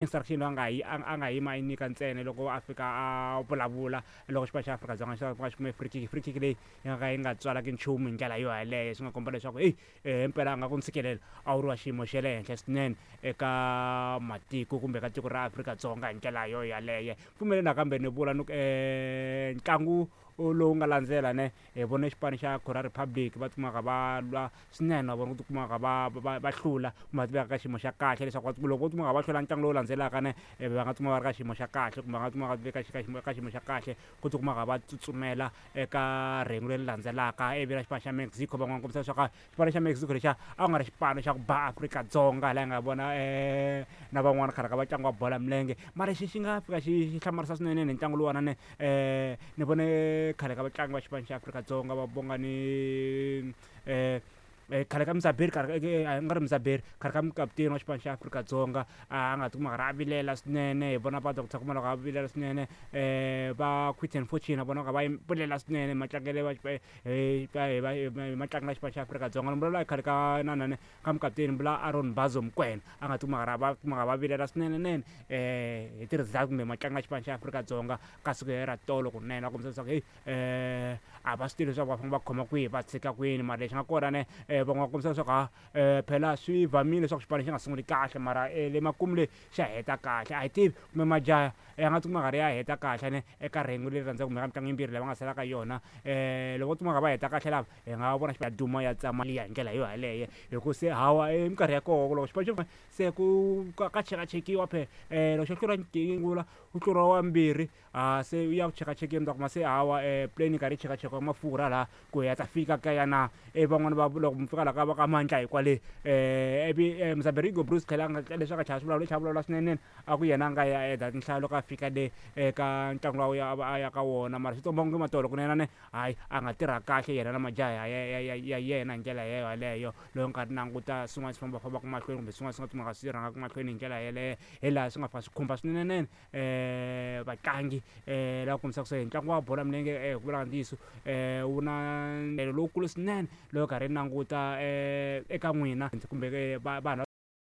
Instruction a nga yi a nga yima a yi nyika ntsena loko a fika a vulavula loko xipano xa Afrika-Dzonga xa xi kume free kick, free kick leyi yi nga ka yi nga tswalaki nchumu hi ndlela yo yaleyo. Swi nga komba leswaku heyi himpela a nga ku ntshikelelo a wu ri wa xiyimo xa le henhla swinene eka matiko kumbe ka tiko ra Afrika-Dzonga hi ndlela yo yaleyo. Pfumeli nakambe ni vula ni ku ntlangu lowu nga landzela ne hi vone xipano xa Kora Republic va tikumaka va lwa swinene na vona ku tikumaka va hlula kumbe va tiveka ka xiyimo xa kahle leswaku loko vo tikumaka va hlula ntlangu lowu landzelaka ne va nga tikuma va ri ka xiyimo xa kahle kumbe va nga tikuma va veka ka xiyimo xa kahle ku tikumaka va tsutsumela eka rhengu leri landzelaka. Ivi na xipano xa Mexico van'wana kombisa leswaku xipano xa Mexico lexiya a ku nga ri xipano xa ku ba Afrika-Dzonga laha hi nga vona na van'wana khale ka vatlangi va bolo ya milenge. Mara lexi xi nga fika xi hlamarisa swinene hi ntlangu luwani ne ni vone khale ka vatlangi va xipano xa Afrika-Dzonga va Bongani khale ka Mzaberi khale ka a nga ri Mzaberi khale ka mukaputeni wa xipano xa Afrika-Dzonga a nga tikuma a karhi a vilela swinene. Hi vona va Doctor Khumalo va vilela swinene, va Quinton Fortune na vona va kha va vilela swinene matlangelo va hi hi matlangelo ya xipano xa Afrika-Dzonga. Ni vulavula hi khale ka inanani ka mukaputeni ni vula Aaron Bazo Mokoena a nga tikuma a karhi va tikuma va vilela swinene nene hi ti-result kumbe matlangelo ya xipano xa Afrika-Dzonga ka siku ra tolo kunene. Va kombisa leswaku heyi a va swi tivi leswaku va fanele va khoma kwihi va tshika kwini, mara lexi nga kona ne van'wana va kombisa leswaku ha phela swi vamile leswaku xipano xi nga sunguli kahle mara le makumu le xa heta kahle. A hi tivi kumbe majaha ya nga tikuma karhi ya heta kahle ne eka rhengu leri rhandzaka kumbe ka mitlangu yimbirhi leyi va nga sala ka yona. Loko vo tikuma va heta kahle lava hi nga vona ya duma ya tsama liya hi ndlela yo yaleyo hi ku se hawa i minkarhi ya koho loko xipano xo se ku ka chekachekiwa phela loko xo hlula ngula ku hluriwa wa mbirhi a se u ya ku chekachekeni ta kuma se hawa plane yi karhi yi chekachekiwa mafurha laha ku ya ta fika kaya na. Ivi van'wani va loko mi fika la ka va ka Mandla hi kwale ivi Mzaberi Hugo Broos tlhela a nga leswi a nga chava swi vulavula lexi a vulavula swinene a ku yena a nga ya eda tinhlayo loko a fika le eka ntlangu lowu a ya ka wona. Mara swi tikomba onge matolo kunene ne hayi a nga tirha kahle yena na majaha ya yena hi ndlela yeleyo. Loko ni karhi ni languta swin'wana swi fambafambaka mahlweni kumbe swin'wana swi nga kumeka swi rhangaka mahlweni hi ndlela yeleyo hi laha swi nga fika swi khumba swinene vatlangi lava kombisaka se ntlangu wa bolo ya milenge hi ku vula ntiyiso wu na lowukulu swinene loko karhi ni languta eka n'wina kumbe vanhu.